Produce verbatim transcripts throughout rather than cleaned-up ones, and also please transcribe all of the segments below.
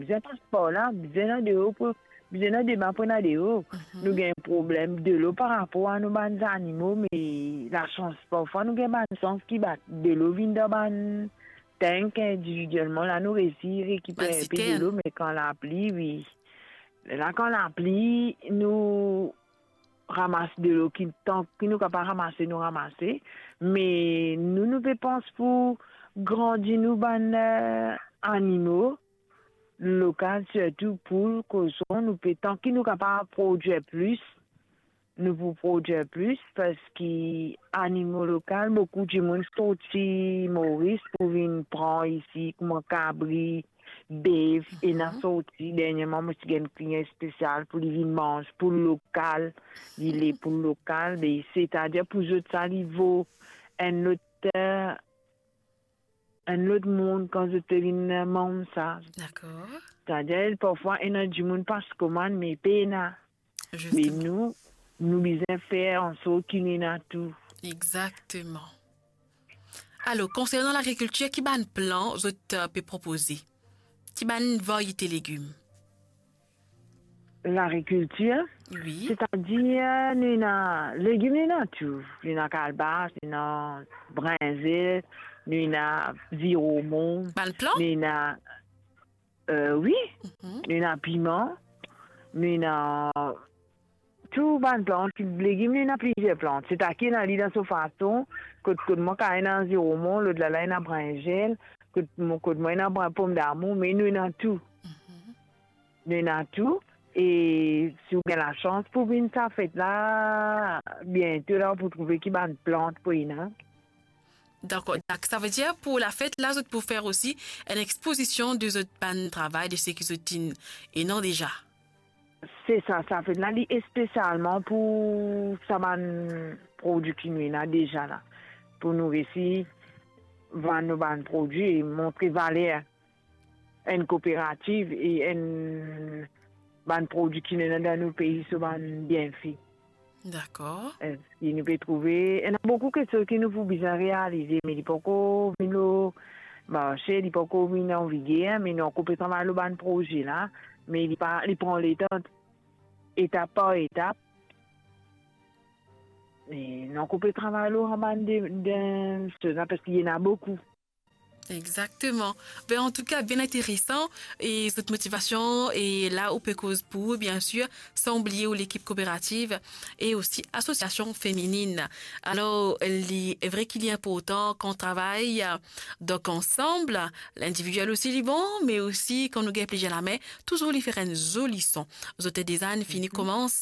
bizin pas par la, bizin ena deor pou, bizin ena dema pou ena deor. Mhm. Nou gagn problem delo par rapor a nou bann zanimo, me lasans, parfwa nou gagn bann sans ki bat delo vinn dan bann tank individielman, la nou resi rekiper Bann enpe sitern. delo, me kan lapli, wi. La kan lapli, nou ramas delo ki, tan ki nou kapav ramase, nou ramase. Me nou, nou pe pans pou grandi nou bann, eh, animo lokal, sirtou poul, koson, nou pe, tan ki nou kapav prodwir plis, nou pou prodwir plis, parski animo lokal, boukou dimoun sorti Moris pou vinn pran isi, kouma kabri, bef, Mhm. ena sorti. Derniereman, mo ti gagn klian spesial pou li vinn manz poul lokal, li le poul lokal, me setadir pou zot sa, li vo enn lot, eh, enn lot mond kan zot pe vinn manz sa. Dakor. Setadir, parfwa, ena dimoun pas komann, me pena. Me Zisteman. nou, nou bizin fer ansort ki nou ena tou. Exakteman. Alor, konsernan lagrikiltir, ki bann plan zot, eh, pe propoze? Ki bann variete legim? Lagrikiltir, Wi. setadir, nou ena legim, nou ena tou. Nou ena kalbas, nou ena brinzel, nou ena ziromon, Bann plan? nou ena, eh, wi, Mhm. nou ena piman, nou ena tou bann plant, legim, nou ena plizier plant. Setaki ena li dan so fason, kot, kot mwa kapav ena ziromon, lot la, la ena brinzel, kot mo, kot mwa ena brin-, pomdamour, me nou ena tou. Mhm. Nou ena tou. E si ou gagn lasans pou vinn sa fet la, biento la, ou pou trouve ki bann plant pou ena. Dakor. Dak-, savedir pou lafet la, zot pou fer osi enn expozision de zot bann travay, de seki zot inn ena deza. Se sa, sa fet la, li espesialman pou sa bann prodwi ki nou ena deza la. Pou nou resi vann nou bann prodwi e montre valer enn kooperativ e enn bann prodwi ki nou ena dan nou pei, so bann bienfe. Dakor. Eh, si nou pe trouve, ena boukou kiksoz ki nou pou bizin realize, me li poko vinn lor marse, li poko vinn an viger, me nou ankor pe travay lor bann proze la, me li pa, li pran letan, etap par etap. Me nou ankor pe travay lor sa bann de, de soz la, parski ena boukou. Exakteman. Be, antouka, bien interesan, e zot motivasion, e la ou pe koz pou ou, biensir, san oubliye ou lekip kooperativ e osi asosiasion feminin. Alor, li vre ki li inportan kan travay, donk, ansam, lindividiel osi li bon, me osi kan nou gagn plizier lame, touzour li fer enn zoli son. Zot deza inn fini Mhm. koumans,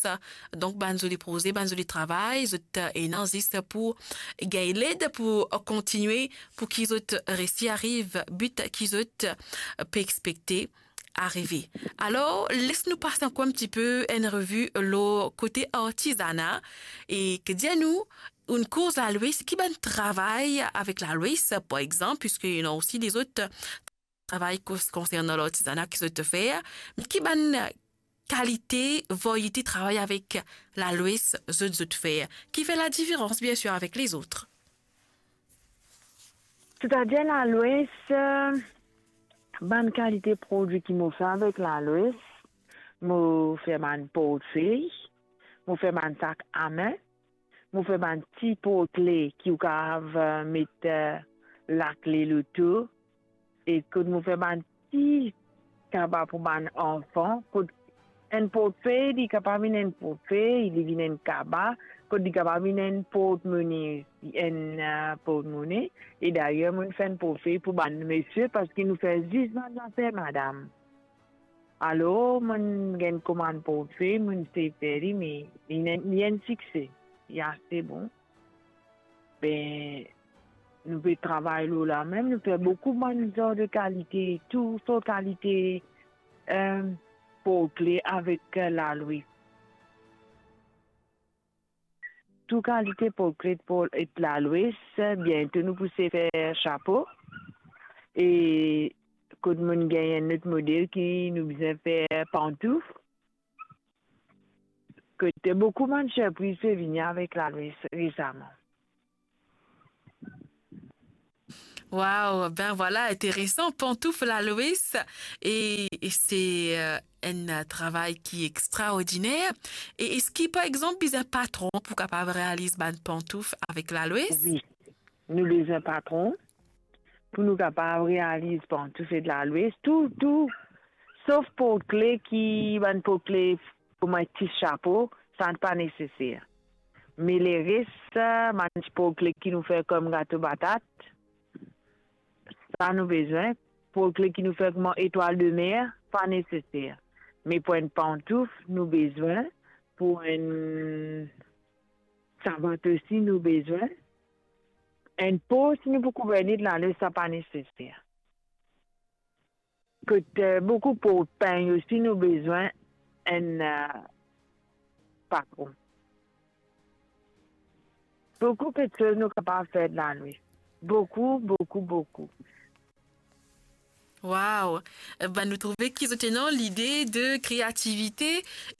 donk, bann zoli proze, bann zoli travay, zot ena zis pou gagn led pou kontinie pou ki zot resi ariv bit ki zot, eh, pe exspekte arive. Alor, les nou pas ankor enn tipe enn revi lor kote artizana e ke dir nou, ou'nn koz Lalwes, ki bann travay avek Lalwes, par exanp, piski ena osi lezot travay kons-, konsernan lartizana ki zot fer, me ki bann kalite, variete travay avek Lalwes zot, zot fer, ki fer ladiferans, biensir, avek lezot? Setadir Lalwes, eh, bann kalite prodwi ki mo fer avek Lalwes, mo fer bann portfey, mo fer bann sak ame, mo fer bann ti portkle ki ou kapav, eh, met, eh, lakle loto, e kot mo fer bann ti kaba pou bann anfan, kot enn portfey, li kapav vinn enn portfey, li vinn enn kaba, kot li kapav vinn enn portmone, enn, eh, portmone. E dayer, mo'nn fer enn portfey pou bann misie, parski nou fer zis bann zafer madam. Alor, mo'nn gagn komann portfey, mo'nn sey fer li, me li, li enn sikse, li ase bon. Be, nou pe travay lor la mem, nou fer boukou bann zar de kalite, tou sort kalite, eh, portkle avek, eh, Lalwes. Tou kalite portkle pou et Lalwes, biento nou pou sey fer sapo. E kot mo'nn gagn enn lot model ki nou bizin fer pantouf. Kot boukou bann sirpriz pe vini avek Lalwes resaman. Wow, ben vwala, interesan, pantouf laloes, e, e se, euh, enn, euh, travay ki extraordiner. E eski, par exanp, bizin patron pou kapav realiz bann pantouf avek laloes? Wi, nou bizin patron pou nou kapav realiz pantouf ek laloes, tou, tou, sof portkle ki, bann portkle kouma ti sapo, sa pa neseser. Me leres, bann ti portkle ki nou fer kom gato batat, sa nou bizin. Portkle ki nou fer kouma etwal de mer, pa neseser. Me pou enn pantouf, nou bizin. Pou enn savat osi, nou bizin. Enn po, si nou pou kouver li, lale, sa pa neseser. Kot, euh, boukou portpeny osi, nou bizin enn, euh, patron. Boukou kiksoz nou kapav fer lane. Boukou, boukou, boukou. Wow! Ba, nou trouve ki zot ena lide de kreativite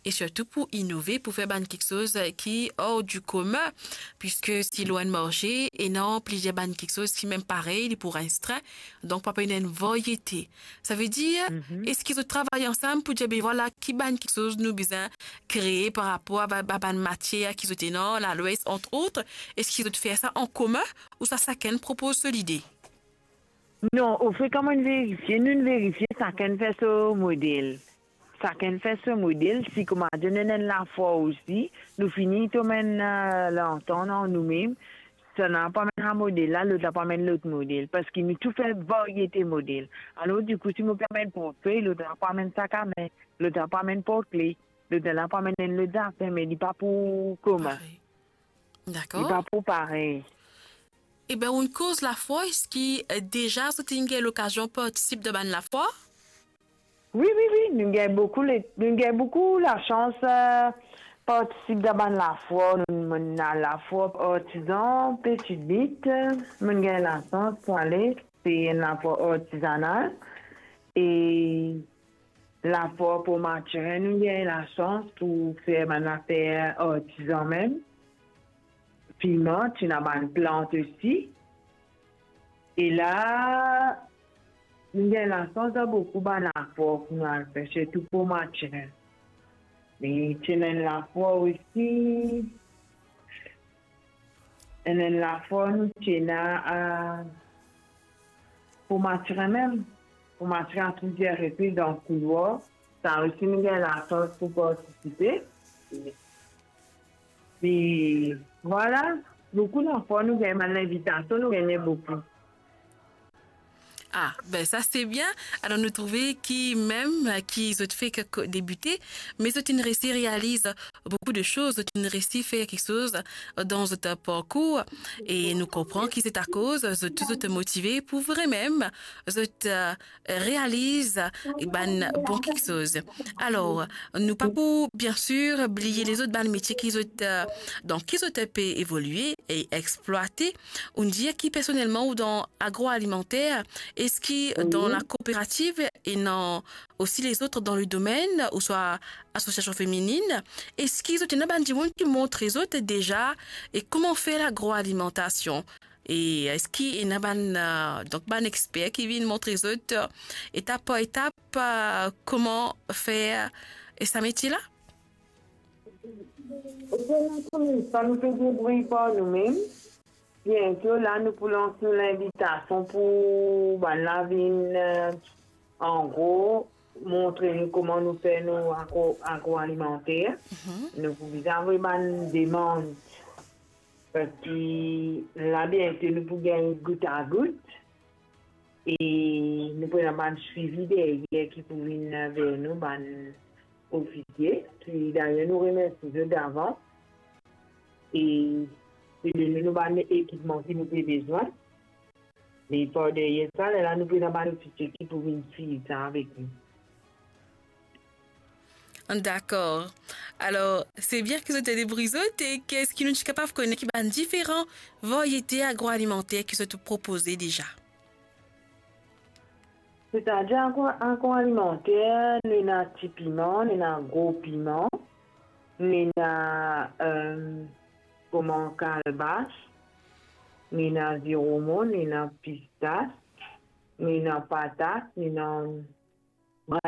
e sirtou pou inove, pou fer bann kiksoz ki hors du commun, piske si lor enn marse, ena plizier bann kiksoz ki mem parey, li pou reste, donk pa pena enn variete. Savedir, eski zot travay ansam pou dir, be vwala, ki bann kiksoz nou bizin kree par rapor a ba-, ba-, bann matier ki zot ena, laloes, entre autres, eski zot fer sa an komin ouswa sakenn propoz so lide? Non, ofrekan mo'nn verifie, nou'nn verifie, sakenn fer so model. Sakenn fer so model, si kouma dir nou ena enn lafwar osi, nou fini tom enn, euh, lantant ant noumem, sa la pou amenn sa model la, lot la pou amenn lot model, parski nou tou fer variete model. Alor, dikou, si mo pe amenn portfey, lot la pou amenn sakamin, lot la pou amenn portkle, lot la pou amenn enn lot zafer, me li pa pou komin. Parey. Dakor. Li pa pou parey. Eben, ou'nn koz lafwar, eski, eh, deza zot inn gagn lokazion partisip dan bann lafwar? Wi, wi, wi, nou gagn boukou le-, nou gagn boukou lasans, eh, partisip dan bann lafwar. Nou, mo'nn al lafwar artizan, Petite Butte, mo'nn gagn lasans pou ale, se enn lafwar artizanal. E lafwar Port Mathurin, nou gagn lasans pou fer bann zafer artizan mem. Piman, ti ena bann plant osi. E la, nou gagn lasans dan boukou bann lafwar pou nou al fer, sirtou Port Mathurin. Me ti ena enn lafwar osi, enn, enn lafwar nou ti ena, a, Port Mathurin mem. Port Mathurin a plizier repriz dan koulwar. Sa osi nou gagn lasans pou partisipe. E vwala, boukou lafwar nou gagn bann linvitasion, nou gagn boukou. Ah, ben sa se bien. Alor nou trouve ki mem ki zot fek debite, me zot inn resi realiz boukou de soz, zot inn resi fer kiksoz dan zot parkour, e nou konpran ki se akoz zot tou zot motive pou vremem zot, eh, realiz bann bon kiksoz. Alor, nou pa pou, bien sir, bliye lezot bann metie ki zot, eh, dan ki zot pe evolie e explwate. Ou'nn dir ki personelman ou dan agroalimenter, eski dan la kooperativ ena osi lezot dan le domenn, ouswa asosiasion femininn, eski zot ena bann dimoun ki montre zot deza e kouma fer lagroalimantasion? E eski ena bann, eh, donk bann exper ki vinn montre zot, eh, etap par etap, eh, kouma fer, eh, sa metie la? Ebien, nou koumans, nou pe debrouy par noumem. Biento la, nou pou lans nou linvitasion pou bann la vinn, eh, an gro, montre nou kouma nou fer nou agro-, agroalimenter. Nou pou bizin avoy bann demann. Parski la, biento, nou pou gagn gout a gout. E nou pou ena bann swivi deryer ki pou vinn ver nou, bann ofisie, ki dayer nou remersie zot davan. E, e donn nou bann ekipman ki nou pe bezwin. Me par deryer sa, lerla nou pou ena bann ofisie ki pou vinn swiv sa avek nou. Dakor. Alor, se bien ki zot debrouy zot, e eski nou ti kapav kone ki bann diferan variete agroalimanter ki zot propoze deza? Setadir agro-, agroalimenter, nou ena ti piman, nou ena gro piman, nou ena, eh, kouma kalbas, Ni ena ziromon, ni ena pistas, ni ena patat, ni ena brin